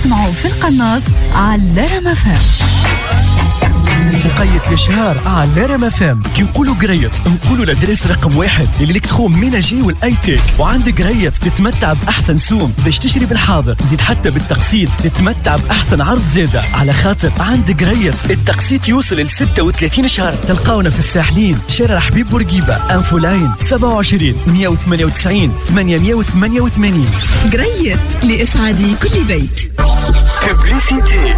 تسمعوا في القناص على رام FM. وقيت الاشهار على رام FM. كي نقولوا قريت نقولوا l'adresse رقم واحد l'électroménager وال high-tech، وعند قريت تتمتع باحسن سوم باش تشري بالحاضر، زيد حتى بالتقسيط تتمتع باحسن عرض زاده، على خاطر عند قريت التقسيط يوصل ل 36 شهر. تلقاونا في الساحلين، شارع حبيب بورقيبه، infoline 27 198 888. قريت لإسعاد كل بيت. publicité.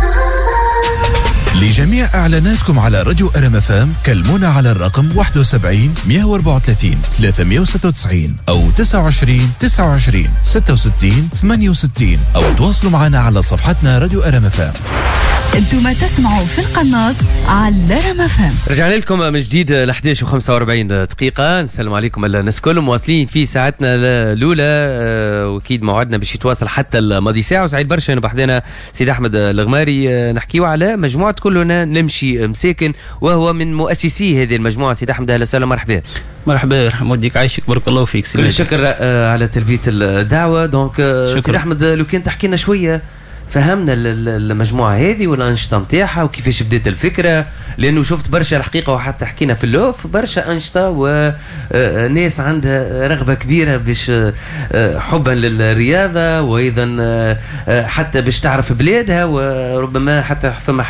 لجميع إعلاناتكم على راديو ار FM كلمونا على الرقم 71 134 396 أو 29 29 66 68، أو تواصلوا معنا على صفحتنا راديو ار FM. انتم تسمعوا في القناص على رام FM. رجعنا لكم من جديد ل 11 و45 دقيقة. نسلم عليكم الناس الكل، مواصلين في ساعتنا الأولى، وأكيد موعدنا باش يتواصل حتى الماضي ساعة. وسعيد برشا أنه بحذانا سيد أحمد الغماري، نحكيو على مجموعة كلنا نمشي مساكن، وهو من مؤسسي هذه المجموعة. سيد أحمد، أهلا وسهلا، مرحبا. مرحبا، يرحم والديك، عايشك، بارك الله فيك. كل الشكر على تلبية الدعوة. donc سيد أحمد، لو كان تحكي لنا شوية، فهمنا المجموعة هذه والأنشطة نتاعها وكيفاش بدات الفكرة، لأنه شفت برشا الحقيقة وحتى حكينا في ال off، برشا أنشطة وناس عندها رغبة كبيرة باش حبا للرياضة وأيضا حتى باش تعرف بلادها، وربما حتى فما